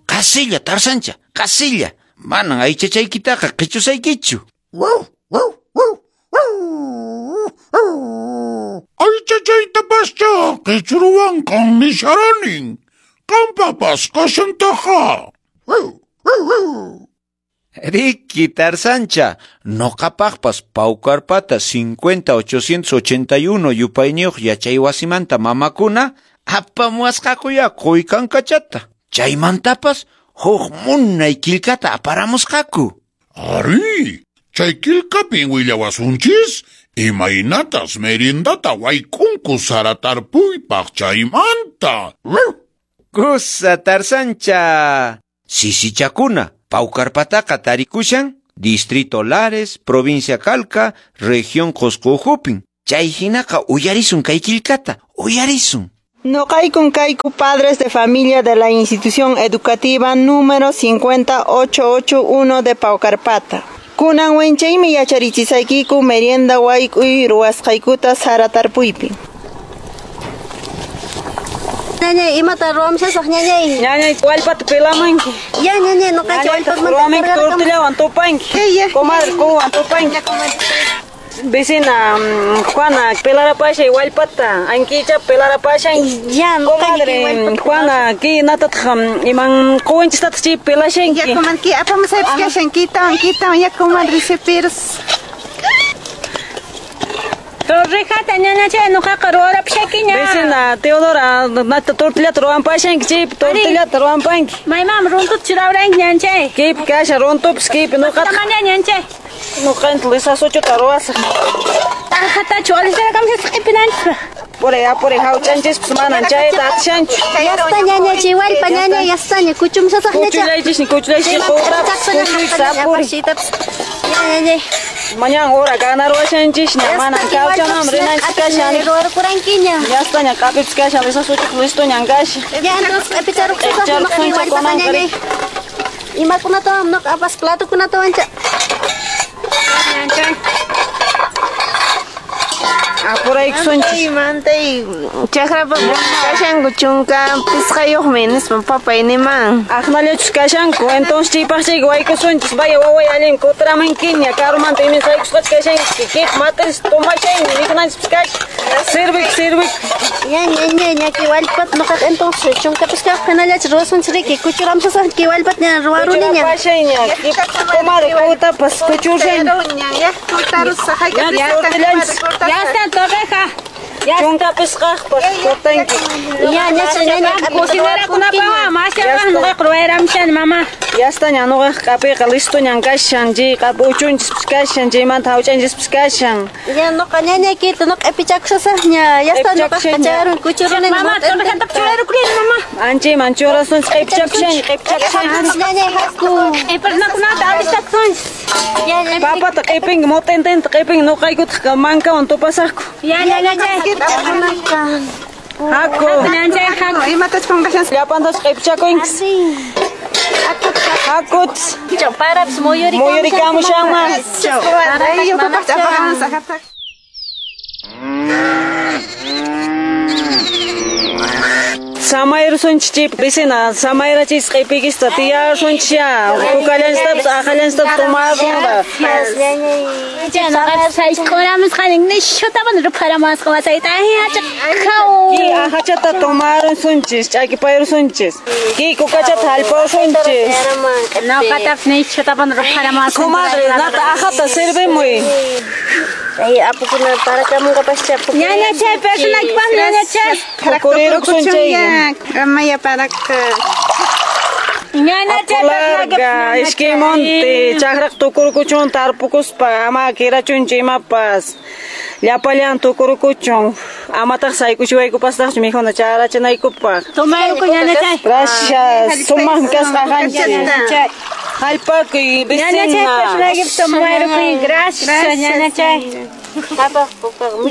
Qasilla, Tarzancha, qasilla. Manan aychachaykitaqa qichusaykichu. Aychachaytapascha qichruwanqan nisharanin. Qampapas kashantaqa. Riki, Tarzancha, noqapaqpas Paucarpata 50881 yupayniyuq yachaywasimanta mamakuna apamuwasqakuya quykankachata. Chaymantapas huk munay killkata aparamusqaku. Ari, chay killkapin willawasunchis imaynatas meriendata wayk'unku sara tarpuypaq chaymanta. Kusa, Tarzancha. Sisichakuna, Paucarpataqa tarikushan Distrito Lares, Provincia Calca, Región Qosqo ukhupin. Chay hinaqa uyarisun kay killkata, uyarisun. Noqaykun kayku padres de familia de la institución educativa número 50881 de Paucarpata. Kunan wenchaymi yacharichisaykiku merienda wayk'uy ruwasqaykuta sara tarpuypi. Ñañay, imata ruwamshasaq ñañay. Ñañay, wallpata pilamanki. Ya ñañay, noqanchik wallpamanta ruwamanki tortillawan tupanki. Comadre kuwan tupanki. Vecina Juana, pelarapashay wallpata, ankicha pelarapashay. Ya, comadre Juana, ki natataq iman quwanchistataq chay pelashanki. Ya comadre, ki apamusaypis kashan, kitawan, kitawan, ya comadre sipirs. Torrijata ñañachay noqaqa ruwarapushakiña. Vecina Teodora, nata tortillata ruwanpashanki, chaypi tortillata ruwanpanki. Maymam runtuta churawranki ñanchay. Kaypi kashan runtupas kaypi noqataq. Maña ñanchay. Noqanta lisasuchuta ruwasaq. T'aqatachu alisarakamsasaq q'ipinanchispaq. Puray apuray hawchanchispas manan chayta atishanchu. Yasta ñañachay wallpa ñaña yastaña kuchumsasaq ñacha. Kuchullaychisni kuchullaychis qutrapas kuchuychis apuray. Ñañay. Mañan hora ganarwashanchisña manan kawchanam rinanchis kashan. Ruwarkurankiña. Yastaña q'apipas kashan lisasuchuqa listoñan kashan. Ya entonces q'ipicharuqsasaq wallpata ñañay. Imakunatawan noqa apas platokunatawan cha. Apuraykusunchis. Mantay chakrapa kashanku chunka pisqayuqmi nispa papay niman. Aqnallachus kashanku, entonces chaypaq chayqa waykusunchis. Vaya waway allin kutiramankiña karumanta imin saykusqachu kashanki. Kip matis tomashaymi mikhunanchispis kashan. Sirvik, sirvik. Ya ñañay, ñaki wallpata noqaqa entonces chunka pisqayuq hinallachu ruwasunchis riki. Kuchuramsasaq ki wallpata ña ruwaruniña. Kuchurapashayña. Comadre kutapas kuchurshayña. Ya kutarusaq Ya está torreja. Chunka pisqaqpas kutanki. Ya ñacha ñaña cocinerakunapaq mashawan noqaqa ruwayramshani mamá. Yastaña noqaqa q'apiqa listoñan kashan, chay q'api uchunchispas kashan, chaymanta hawchanchispas kashan. Ya noqa ñañaykita noqa q'ipichakushasaqña. Yasta noqaqa chayarun kuchuruni. Mamá, torrejata churarukurini mamá. Anchayman churasunchis q'ipichakushaña, q'ipichakushaña. Ñañay haku. Q'iparnakunata alistakusunchis. Papata q'ipinki, motententa q'ipinki, noqaykutaq mankawan tupasaqku. Ya ñañachay. Haku. Ñañachay haku. Imatach qunqashan. Llapantas q'ipichakunchis. Hakut. Parapis muyurikamushanman. Samayrusunchis chaypi vecina, samayrachis q'ipikista tiyarsunchis ya, kukallanchistapas aqallanchistapas tomarunqa. Ki aqachata tomarusunchis, ch'akipayrusunchis. Ki kukachata hallpawsunchis. Comadre, nata aqata sirvimuy. Ay, apukuna parakamunqapascha. Ñañachay, personakipaq ñañachay. Pukurirukusun chay. Amaya paraka. Ñañachay, Larga, iskay monte, chakraq tukurkuchun tarpukuspa, ama kirachunchu imapas. Llapallan tukurkuchun, amataq saykuchiwaykupastaqchu mikhuna charachinaykupaq. Tomayruku ñañachay. Gracias, sumaq kasqa qanchis. Hallpakuy, Ñañachay, vecina. personakipaq tomayruku. Gracias, ñañachay.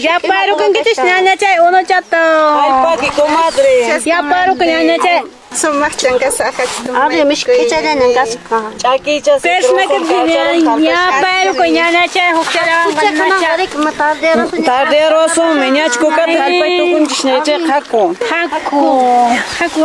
Yaparukunkichis ñañachay, unuchato. Hallpakuy, comadre. Yaparuku ñañachay. Sumaqchan kasqa. Ari mishk'ichallañan kasqa. Ch'akicha Tardearosun, ñach kukata hallpay tukunchis ñaychayqa haku. Haku. Haku.